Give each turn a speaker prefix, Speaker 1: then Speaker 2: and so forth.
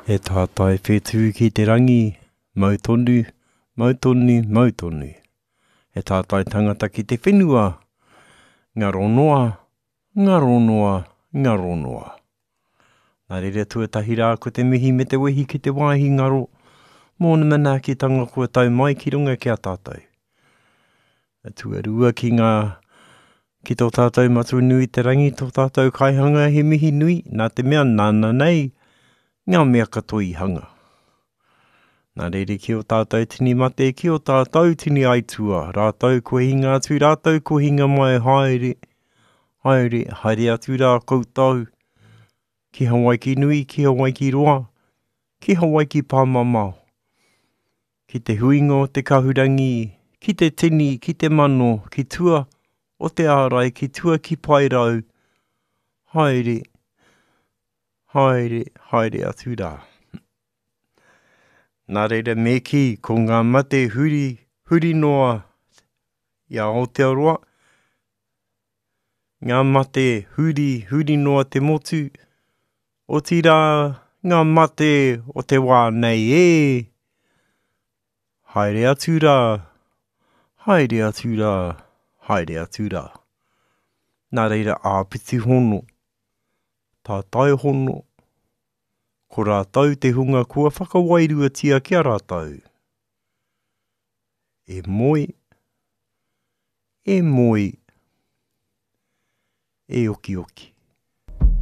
Speaker 1: He tātai whetū ki te rangi, mau tonu, mau tonu, mau tonu. He tātai tangata ki te whenua, ngaro noa, ngaro noa, ngaro noa. Nā reira tuatahi rā ko te mihi me te wehi ki te wāhi ngaro mōna manaakitanga kua tau mai ki runga ki a tātou. Tuarua ki ngā, ki tō tātou Matua nui te rangi, tō tātou kaihanga he mihi nui, nā te mea nāna nei ngā mea katoa i hanga. Nā reira ki ō tātou tini mate, ki ō tātou tini aitua, rātou kua hinga atu, rātou kua hinga mai, haere, haere, haere atu rā koutou, ki Hawaiki nui, ki Hawaiki roa, ki Hawaiki pāmamao. Ki te huinga o te kahurangi, ki te tini, ki te mano, ki tua o te ārai, ki tua ki Paerau, haere, haere, haere atu rā. Nā reira me kī, ko ngā mate huri, huri noa i a Aotearoa, ngā mate huri, huri noa te motu, Otirā ngā mate o te wā nei ē! Haere atu rā, haere atu rā, haere atu rā. Nā reira āpiti hono, tātai hono, ko rātou te hunga kua whakawairuatia ki a rātou. E moe, e moe, e okioki.